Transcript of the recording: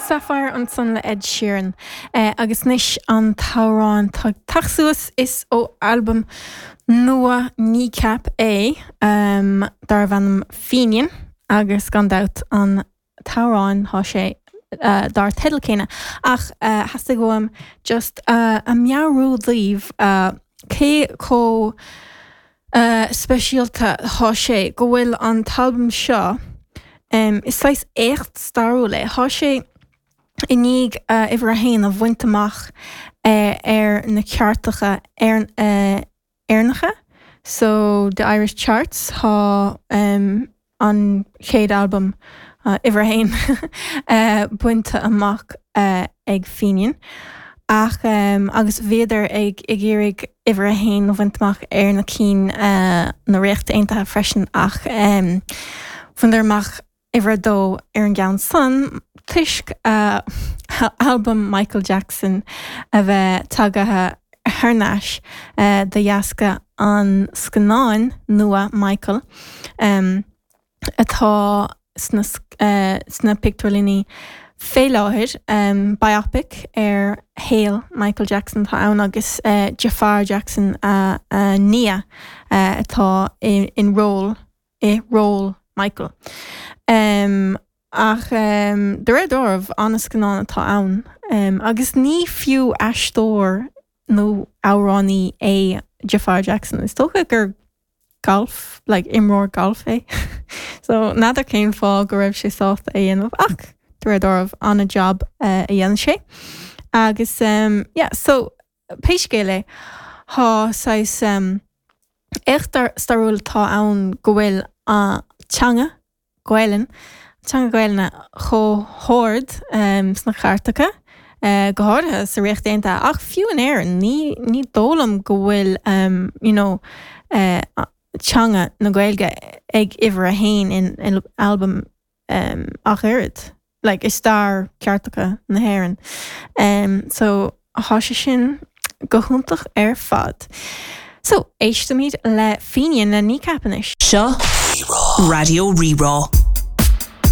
Sapphire ansan le Ed Sheeran. Agus anois an t-amhrán atá ag teacht suas, is ó albam nua Kneecap é, darbh ainm Fenian, agus gan dabht an t-amhrán tá sé dar teideal céanna. Ach theastaigh uaim just a meabhrú daoibh cé chomh speisialta tá sé go bhfuil an t-albam seo, is saghas éacht stairiúil é, tá sé i ndiaidh uimhir a haon a bhaint amach ar na cairteacha Éireannacha, so the Irish charts, tá an chéad albam uimhir a haon bainte amach ag Fenian. Ach agus bhíodar ag ag iarraidh uimhir a haon a bhaint amach ar na cinn na Ríochta Aontaithe freisin ach bhaineadar amach uimhir a dó ar an gceann san toisc albam Michael Jackson a bheith tagaithe thar n-ais de dheasca an scannáin nua Michael. atá sna sna pictiúrlanna fé láthair. Biopic ar shaol Michael Jackson atá ann agus Jaafar Jackson a nia atá in ról i ról Michael. Ach de réir dealraimh an-scannán atá ann agus ní fiú aisteoir nó amhránaí é Jaafar Jackson. Is dócha gur golf, like imreoir golf é. So n'fheadar cén fáth go raibh sé sásta é dhéanamh ach de réir dealraimh an-jab a dhéanann sé. Agus yeah, so pé scéal é, tá saghas éacht stairiúil atá ann go bhfuil an teanga Gaelainn, teanga Gaelainne chomh hard sna cairteacha, go háirithe sa Ríocht Aontaithe, ach fiú in Éirinn, ní, ní dóigh liom go bhfuil you know teanga na Gaeilge ag uimhir a haon in albam ach oiread. like i stair cairteacha na hÉireann. So thá sé sin go hiontach ar fad. So éistimid le Fenian le Kneecap anois. Seo Raidió Rí-Rá.